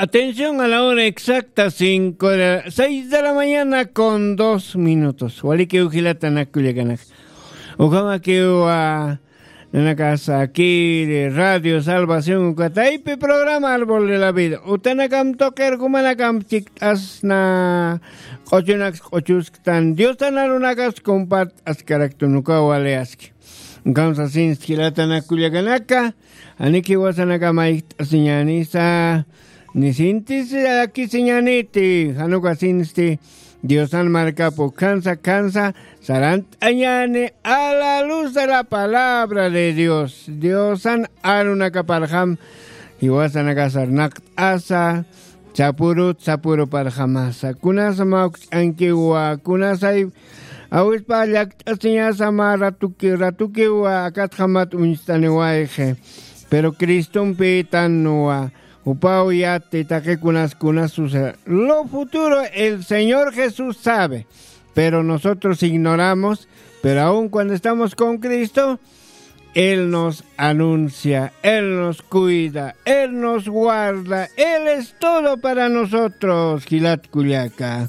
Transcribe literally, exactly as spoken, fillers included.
Atención a la hora exacta, cinco de la, seis de la mañana con dos minutos. Walikiw jilata nakullakanaka. Ukhamakiw, ah, nanakasa kiri Radio Salvación ukataypi programa Árbol de la Vida. Utanakam tuqir jumanakam chikt'asna q'uchunaks q'uchusktan. Diosan arunakas compart'askaraktu nukaw waliyaski. Ukham sasinsti jilata nakullakanaka. Janiki jiwasanakama ijt'asiñänisa, nisintis akisiñäniti, jan ukasinsti Diosan markap ukhansa khansa sarant'añäni a la luz de la palabra de Dios. Diosan arunakaparjam jiwasanakasar naqt'asa, sapurut sapuruparjamasa. Kunasa mawkch'ankiwa, kunasay awispa llakt'asiñasa mä ratuki, ratukiwa akatjamat uñstaniwayxi. Pero Cristompitanwa, jupaw yati taqi kunas kunas suceder. Lo futuro el Señor Jesús sabe, pero nosotros ignoramos, pero aun cuando estamos con Cristo, Él nos anuncia, Él nos cuida, Él nos guarda, Él es todo para nosotros, jilat kullaka.